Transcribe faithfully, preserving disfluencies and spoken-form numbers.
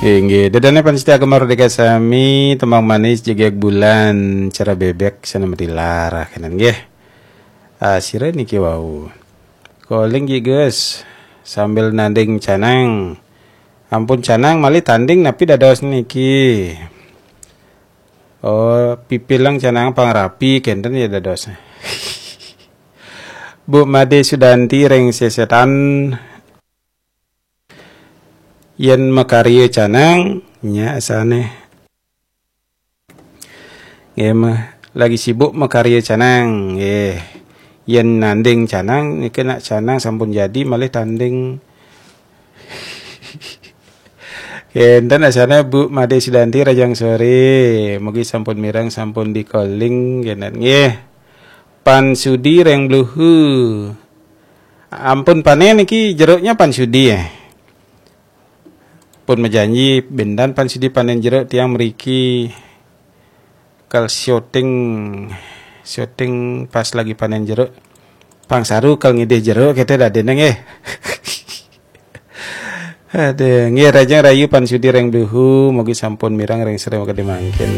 Inggih, ida dané pamiarsa Gema Merdeka sami, tembang manis jegég bulan, cara bébék sana merilar kénten nggih. Ah, sira niki wau. Calling Ki Gus sambil nanding canang. Ampun canang malih tanding napi dados niki. Oh, pipilang canang pang rapi kénten ya dados. Bu Made Sudanti ring Sesetan. Yén makarya canang, nya asané. Nggih, ma-, lagi sibuk makarya canang, nggih. Yén nanding canang, niki nak canang sampun jadi, malih tanding. Kénten asané Bu Made Sudanti, rahajeng soré. Mugi sampun mireng, sampun di-calling, kénten. Nggih. Pan Sudi ring Bluhu. Ampun panén niki jeruknya Pan Sudi, eh. Pun majanji, béndan Pan Sudi panén jeruk tiang mriki kal syuting, syuting pas lagi panén jeruk. Pang saru kal ngidih jeruk kéto dadiné nggih. Aduh, nggih rahajeng rahayu Pan Sudi ring Bluhu, mugi sampun mireng ring sore makadi mangkin.